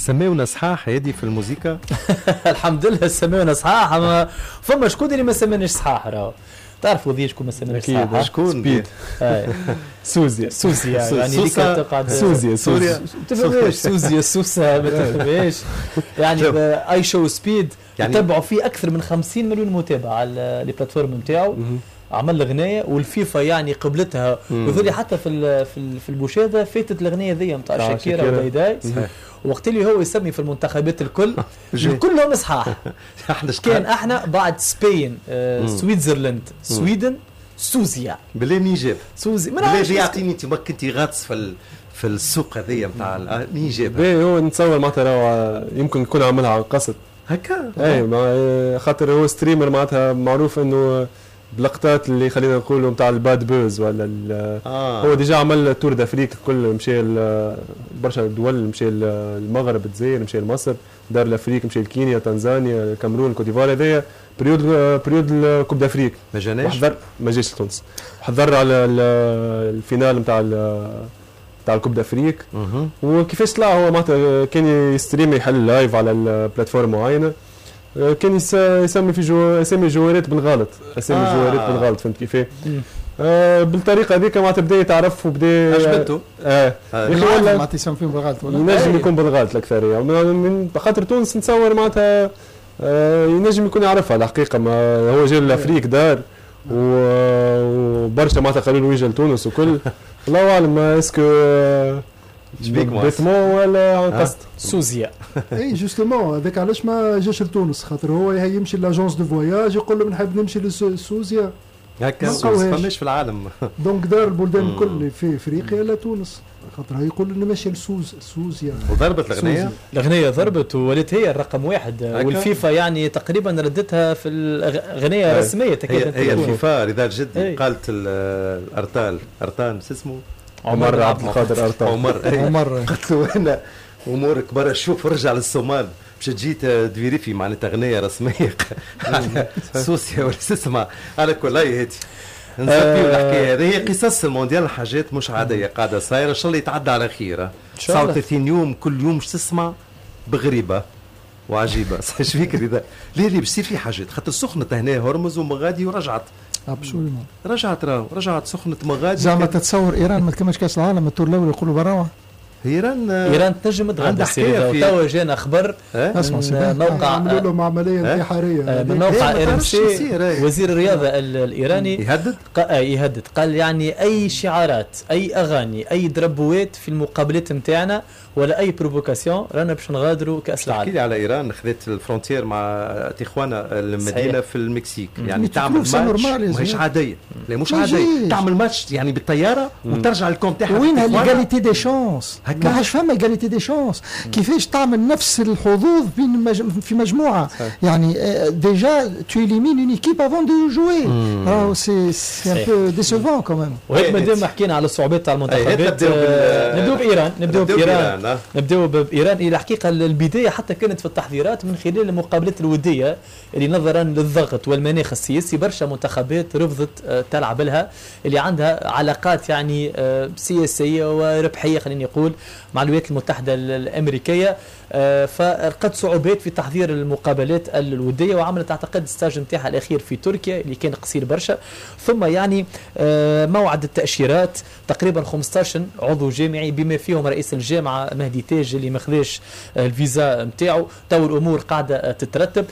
سماونا صحاح هذه في الموسيقى. الحمد لله سماونا صحاح، اما فما شكون اللي ما سماناش صحاح؟ راهو تعرفوا ذي شكون ما سماناش صحاح؟ شكون؟ سبيد سوزيا. سوزيا، يعني ديك تقعد سوزيا. سوريا. تفهمش سوزيا سوسة، ما تفهمش. يعني IShowSpeed يعني يتبعوا فيه اكثر من 50 مليون متابع على les plateformes نتاعو. عمل اغنية والفيفا يعني قبلتها، وذولي حتى في المشاهدة فاتت الاغنية ذي نتاع شاكيرا ودايداي. وقت اللي هو يسمي في المنتخبات الكل، كلهم صحاح. كان احنا بعد Spain، Switzerland، Sweden، سوزيا. بالله منين جاب؟ سوزي. ما بالله يعطيني، انت ما كنت غاطس في السوق هذيا نتاع، منين جاب؟ هو نتصور معناتها يمكن يكون عملها عن قصد. هكا. اي، خاطر هو streamer معناتها معروف انه بلقطات اللي خلينا نقولوا نتاع ال bad buzz ولا هو déjà عمل tour d'Afrique الكل، مشى برشا دول، مشى المغرب، الجزائر، مشى لمصر، دار l'Afrique، مشى لكينيا، تنزانيا، الكاميرون، كوت ديفوار. هذايا période ال Coupe d'Afrique. ما جاناش. حضر، ما جاش لتونس، حضر على ال finale نتاع ال Coupe d'Afrique. وكيفاش طلع هو؟ معناتها كان يستريم، يحل live على ال plateforme معينه، كان يسمي في جو اسامي جوارات بالغلط، اسامي جوارات بالغلط، فهمت كيف؟ بالطريقة هذيك معناتها بدا يتعرف وبدا عجبته. اه. ولا معناتها يسمي فيهم بالغلط ولا ينجم يكون بالغلط الاكثريه، من خاطر تونس نتصور معناتها ينجم يكون يعرفها الحقيقه. ما هو جا l'Afrique دار وبرشا معناتها قالوا له يجي لتونس وكل. الله اعلم est-ce que bêtement ولا عن قصد. سوزيا. اي justement، هذاك علاش ما جاش لتونس، خاطر هو يمشي l'agence de voyage يقول له نحب نمشي لسوزيا. هكا فماش في العالم. donc دار البلدان الكل في افريقيا لا تونس، خاطر يقول انه ماشي لسوز سوزيا. وضربت الاغنيه. الاغنية ضربت وولت هي الرقم واحد، والفيفا يعني تقريبا ردتها في الاغنية رسميه. تكاد هي الفيفا رضا جدي قالت الارتال، ارتان اسمه. عمر عبد القادر ارتال. عمر. عمر. قلت له انا امورك برا، شوف رجع للصومال باش تجي تفيريفي معناتها اغنية رسمية على سوسيا ولا اسمها. على كل هاتي نسبيو الحكاية هذه، هي قصص المونديال، حاجات مش عادية قاعدة صايره. ان شاء الله يتعدى على خير. 39 يوم، كل يوم مش تسمع بغريبه وعجيبه. ايش فيك رضا؟ ليه ليه باش يصير في حاجات، خاطر سخنت هنا هرمز ومغادي ورجعت. absolument. رجعت، راهو رجعت سخنت مغادي. زعما تتصور ايران ما تكملش كاس العالم؟ ال tour الاول يقولوا براوه. ايران. ايران تنجم تغادر. توا جانا خبر من موقع عملوا لهم عملية انتحاريه. من موقع RMC، وزير الرياضة الايراني يهدد. يهدد، قال يعني اي شعارات، اي اغاني، اي دربوات في المقابلات نتاعنا ولا اي provocation، رانا باش نغادروا كاس العالم. تحكي لي على ايران خذت ال frontière مع تيخوانا، المدينة في المكسيك، يعني تعمل ماتش ماهيش عاديه، لا مش عاديه، تعمل ماتش يعني بالطيارة وترجع لل camp تاعها. وينها l'égalité des chances؟ ما عادش فما égalité des chances. كيفاش تعمل نفس الحظوظ بين في مجموعه؟ يعني déjà tu élimines une équipe avant de jouer، راهو c'est un peu décevant quand même. وهيك مادام حكينا على الصعوبات تاع المنتخبات، نبداو بايران، نبداو بايران، نبداو بايران. الى الحقيقة البداية حتى كانت في التحضيرات من خلال المقابلات الودية اللي نظرا للضغط والمناخ السياسي برشا منتخبات رفضت تلعب لها، اللي عندها علاقات يعني سياسية وربحيه خليني نقول مع الولايات المتحدة الامريكيه، فلقت صعوبات في تحضير المقابلات الوديه، وعملت اعتقد stage نتاعها الاخير في تركيا اللي كان قصير برشا. ثم يعني موعد التاشيرات، تقريبا 15 عضو جامعي بما فيهم رئيس الجامعة مهدي تاج اللي ما خذاش الفيزا نتاعو. تو الامور قاعدة تترتب.